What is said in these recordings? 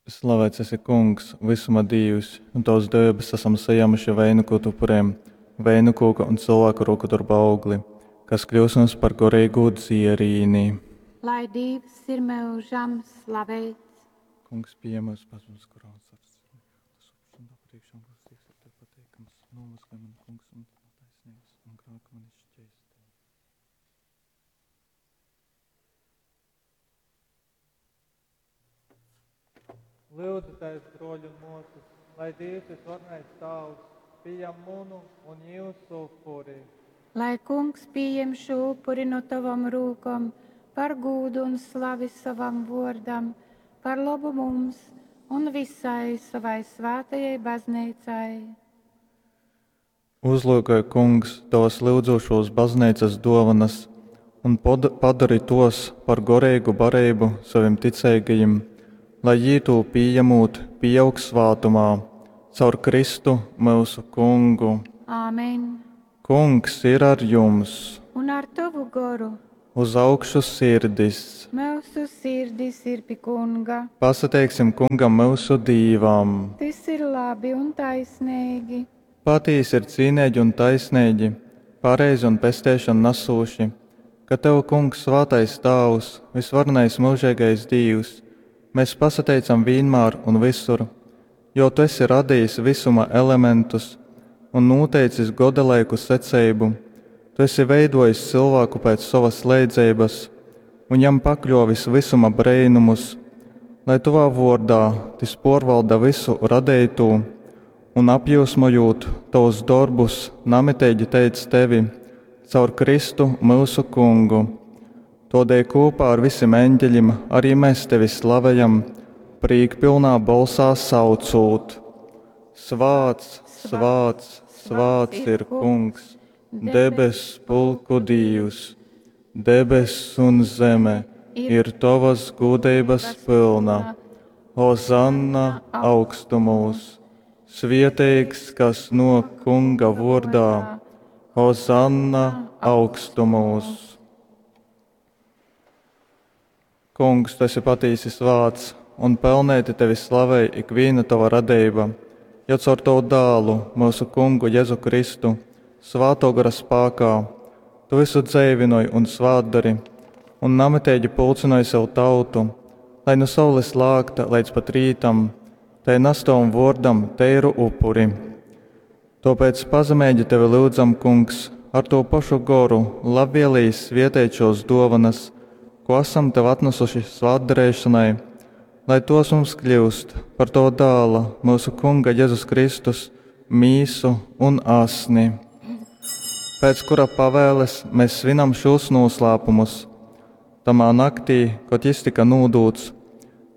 Slavēts esi, Kungs, visuma Dīvs, un Tavas dēbes esam sajēmuši veinukotu upuriem, veinukūka un cilvēku roku darba augli, kas kļūs mums par gorīgū dzierīni. Lai Dīvs ir mūžam slavēts. Kungs, pieņem mūsu pazemes koronas ar tas upurs un tā priekšā, un kas tiks ar tevi pateikams, nomazgā mani, Kungs, un no taisnības un grēka mani šķeistī. Lūdzu, broļi un māsas, lai Dievs visvarenais Tāvs pieņem munu un jūsu upuri. Lai kungs pieņem šo upuri no tavam rūkom par gūdu un slavi savam vārdam, par labu mums un visai savai svētajai baznīcai. Uzlūkoj, Kungs, tavas lyudzošos baznīcas dovanas un padari tos par gorīgu barību saviem ticīgajiem, lai jī tū pieņemot, pieaug svātumā, caur Kristu mūsu Kungu. Āmen. Kungs ir ar jums! Un ar tavu goru Uz augšu sirdis! mūsu sirdis ir pie kunga. Pasateiksim kungam mūsu Dīvam! Tas ir labi un taisnīgi. Patīsi ir cīnīgi un taisnīgi, pareizi un pestēšanu nesūši, ka Tev, Kungs, svētais Tāvs, visvarenais mūžīgais Dīvs, mēs pasateicam vienmēr un visur, jo Tu esi radījis visuma elementus un noteicis godalaiku secību. Tu esi veidojis cilvēku pēc savas leidzības un jam pakļovis visuma breinumus, lai Tavā vārdā tis porvalda visu radīto un apjūsmojot tavus darbus, namitīgi teic tevi caur Kristu mūsu kungu. Todēļ kopā ar visiem eņģeļiem arī mēs tevi slavējam, prīkpilnā balsā saucot: Svāts, svāts, svāts ir kungs, debes pulku dīvs, debes un zeme ir tavas gudrības pilna. Hozanna augstumos! Svieteigs, kas no kunga vārdā, Hozanna augstumos! Kungs, tu esi patīsi svāts, un pelnēti tevi slavē ikviena tava radība, jo caur tavu dālu, mūsu kungu Jēzu Kristu, svāto gara spākā, tu visu dzēvinoj un svātdari, un namitīgi pulcinoj sev tautu, lai no saules lākta līdz pat rītam, tai nastavam vārdam teiru upuri. Tāpēc pazemīgi tevi lūdzam, kungs, ar to pašu goru labvēlīgi svietēt šos dovanas, ko esam tev atnesuši svētdarīšanai, lai tos mums kļūst par to dāla, mūsu kunga Jēzus Kristus, mīsu un asni, pēc kura pavēles mēs svinam šos noslēpumus. Tamā naktī, kad jis tika nūdūts,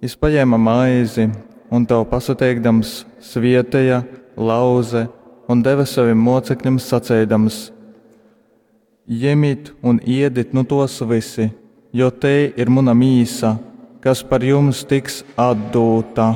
jis paņēma maizi un tev pasateikdams svietēja, lauze un deva saviem mocekļiem sacēdams: Ņemiet un iedit nu tos visi, jo te ir mana mīsa, kas par jums tiks atdūta.